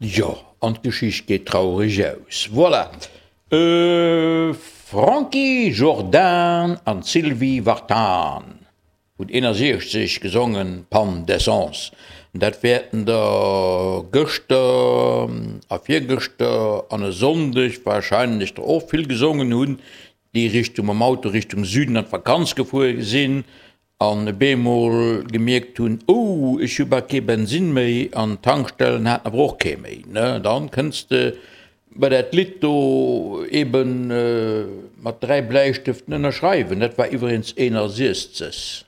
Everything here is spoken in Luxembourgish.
Jo, an d'Geschicht geet traureg aus. Voilà. Franky Jordan an d'Sylvie Vartan hunn 61 gesongen, Panne d'essence. Dat wäerten der gëschter a virgëschter an e Sonndeg warscheinlech der och vill gesongen hunn, déi Richtung mam Auto Richtung Süden an d'Vakanz gefuer sinn an e beemol gemierkt hunn, oh ech hu bal kee Bensinn méi an d'Tankstellen haten awer och kee méi, ne, dann kënns de bei dat Lidd do eben mat 3 Bläistëften ënnerschreiwen. Dat war iwweregens 61.